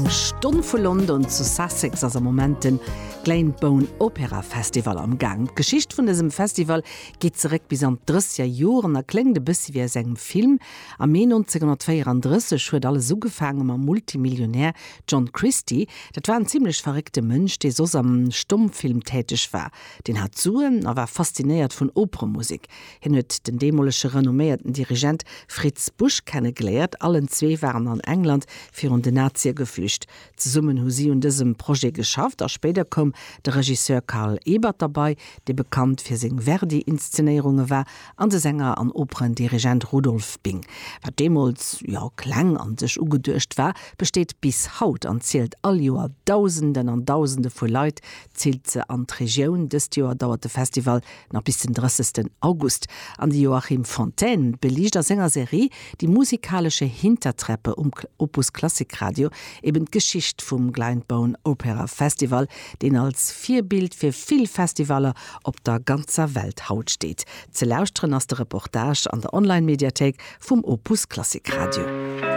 Eng Stonn vu London zu Sussex ass am Moment den Glyndebourne Opera Festival am Gaang. D'Geschicht vun dësem Festival geet zeréck bis an d'Drësseger Joren a kléngt e bëssi wéi aus engem Film. Am Mee 1934 huet alles ugefaange mam Multimillionär John Christie. Dat war en zimmlech verréckte Mënsch, dee soss am Stommfilm täteg war. Deen hat Suen a war faszinéiert vun Operemusek. Hien huet den deemolege renomméierten Dirigent Fritz Busch kennegeléiert. Allen zwee waren an England virun den Nazie geflücht. Zesummen hu si un dësem Projet geschafft a spéider koum de Regisseur Carl Ebert derbei, dee bekannt fir seng Verdi-Inszenéierunge war, an de Sänger an Operendirigent Rudolf Bing. Wat deemools, jo, kleng an sech ugeduecht war, besteet bis haut an zielt all Joer Dausenden an Dausende vu Leit zilt se an d'Regioun. Dëst Joer dauert de Festival nach bis den 30. August. An de Joachim Fontaine beliicht a senger Serie Die musikalesche Hintertreppe um Opus Klassik Radio eben d'Geschicht vum Glyndebourne Opera Festival, deen als Virbild fir vill Festivaller op der ganzer Welt haut steet. Ze lauschteren ass de Reportage an der Online-Mediathéik vum Opus Klassik Radio.